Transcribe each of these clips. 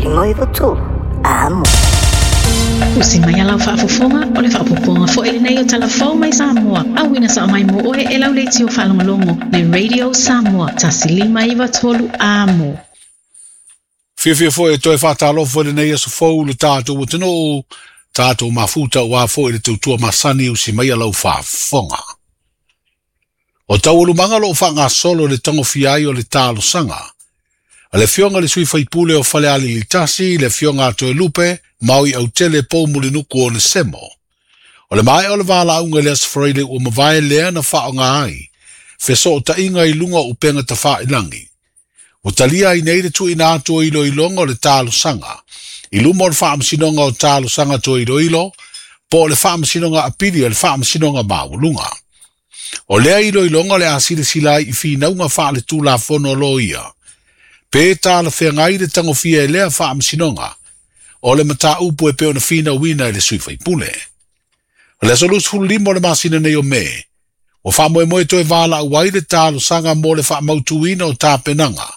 193 Amo. Usi mai a lau faafofoga, o le faaopoopoga foi lenei o Tala Fou mai Samoa, auina sao mai mo oe e lau leitio faalogologo le Radio Samoa 1593 Amo. Fiafia foi e toe faatalofa i lenei aso fou i le tatou atunuu, tatou mafuta aua foi le tautua masani usi mai a lau faafofoga. O taualumaga o lo o faagasolo i le tagofia ai o le talosaga a le Afioga i le Sui Faipule o Falealili 1, le Afioga a Toelupe Maui Autele Poumulinuku Onesemo. O le maea o le valaauga i le Aso Faraile ua mavae lea na faaaoga ai fesootaiga i luga o upega tafailagi. Ua talia ai nei le tuuina atu o iloiloga o le talosaga i luma o le Faamasinoga o Talosaga Toe Iloilo po o le Faamasinoga Apili a le Faamasinoga Maualuga. O lea iloiloga o le a silasila ai i finauga faaletulafono a loia, pe talafeagai le tagofia e lea faamasinoga o le mataupu e pei ona finauina e le sui faipule. O le aso 25 o le masina nei o Me, ua faamoemoe toe valaau ai le talosaga mo le faamautuina o tapenaga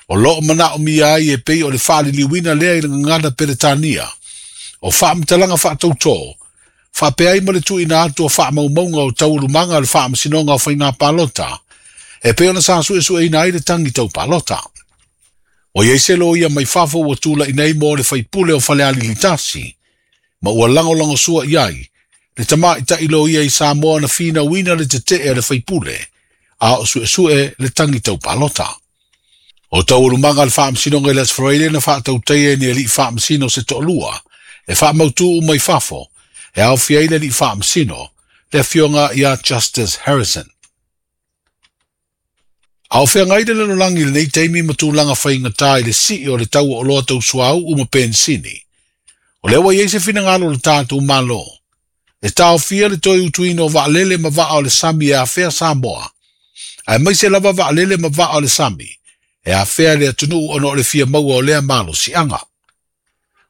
o lo o manaomia ai e pei o le faaliliuina lea i le gagana Peretania o faamatalaga faatautō faapea ai ma le tuuina atu o faamaumauga o taualumaga a le Faamasinoga o Faiga Palota e pei ona sa suesueina ai le tagi tau palota. Ua i ai se loia mai fafo ua tulai nei mo le faipule o Falealili 1, ma ua lagolagosua i ai le tamaitai loia i Samoa na finauina le tetee a le faipule, a o suesue le tagi tau palota. O taualumaga a le Faamasinoga i le Aso Faraile na faatautaia e ni alii faamasino se toalua e faamautu uma i fafo e aofia ai le alii faamasino, le afioga ia Justice Harrison. A o feagai le lalolagi i lenei taimi ma tulaga faigata i le sii o le tau o oloa tau suauu ma penisini, o lea ua i ai se finagalo o le tatou Malo e taofia le toe utuina o vaalele ma vaa o le sami e afea Samoa, aemaise lava vaalele ma vaa o le sami e afea le atunuu ona o le fia maua o lea malosiaga.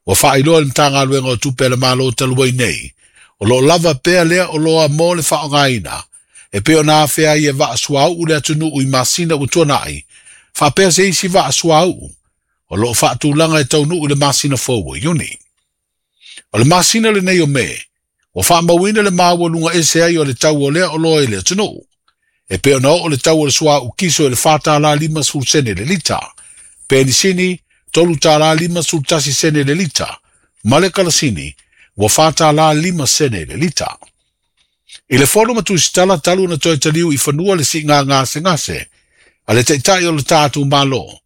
Ua faailoa e le Matagaluega o Tupe a le Malo talu ai nei, o lo o lava pea lea oloa mo le faaaogaina e pei ona afea ai e vaa suauu le atunuu i masina ua tuanai, faapea se isi vaa suauu o lo o faatulaga e taunuu i le masina fou o Iuni. O le masina lenei o Me, ua faamauina le maualuga ese ai o le tau o lea oloa i le atunuu, e pei ona oo le tau o le suauu kiso i le $4.50 sene le lita, penisini $3.51 sene le lita, ma le kalasini ua $4.05 sene le lita. I le fono ma Tusitala talu ona toe taliu i fanua le siiga gasegase a le Taitai o le tatou Malo,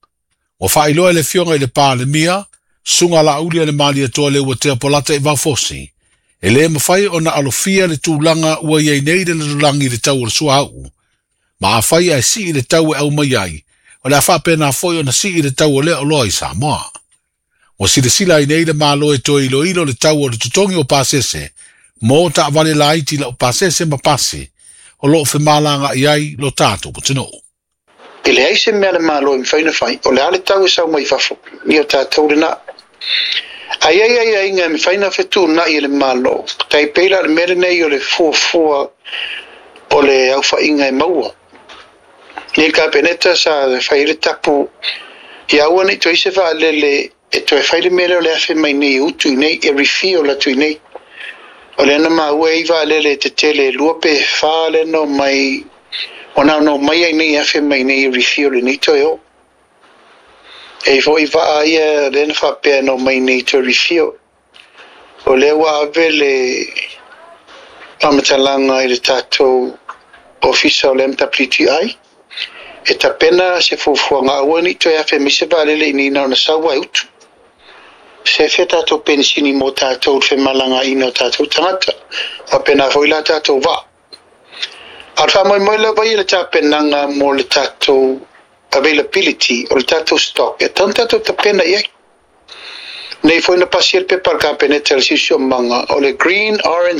ua faailoa e le Afioga i le Palemia, Susuga Laauli a le Malietoa Leuatea Polata i Vaofosi, e le mafai ona alofia le tulaga ua i ai nei le lalolagi i le tau o le suauu, ma afai ae sii le tau e aumai ai, o le a faapena foi ona sii le tau o lea oloa i Samoa. Ua silasila ai nei le Malo e toe iloilo le tau o le totogi o pasese mo taavale laiti laupasese ma pasi o lo o femalagaai ai lo tatou atunuu. E leai se mea a le Malo e mafai ona fai, o le a le tau e sau mai fafo, ia o tatou lena. Ae i ai aiaiga e mafai ona fetuunai e le Malo, tai pei la o le mea lenei o le fuafua o le aofaiga e maua. Nei le Kapeneta sa fai ai le tapu ia aua ne i toe i se vaalele e toe fai le mea lea o le afe mai nei e utu i nei, e refill atu i nei. O lea na maua e i vaalele tetele e 2 pe 4 lea na omai, ona na omai ai nei e afe mai nei e refill i nei toe o. E i foi vaa ia lea na faapea na omai nei toe refill. O lea ua ave le faamatalaga i le tatou ofisa o le MWTI e tapena se fuafuaga aua ne i toe afe mai se vaalele i nei na ona sau ae utu. Se fea tatou penisini mo tatou le femalagaina o tatou tagata, faapena foi la tatou vaa. A o le faamoemoe lava ia i le tapenaga mo le tatou availability o le tatou stock e tatau ona tatou tapena i ai. Nei foi na pasia le pepa a le Kapeneta i le Siosiomaga o le green, orange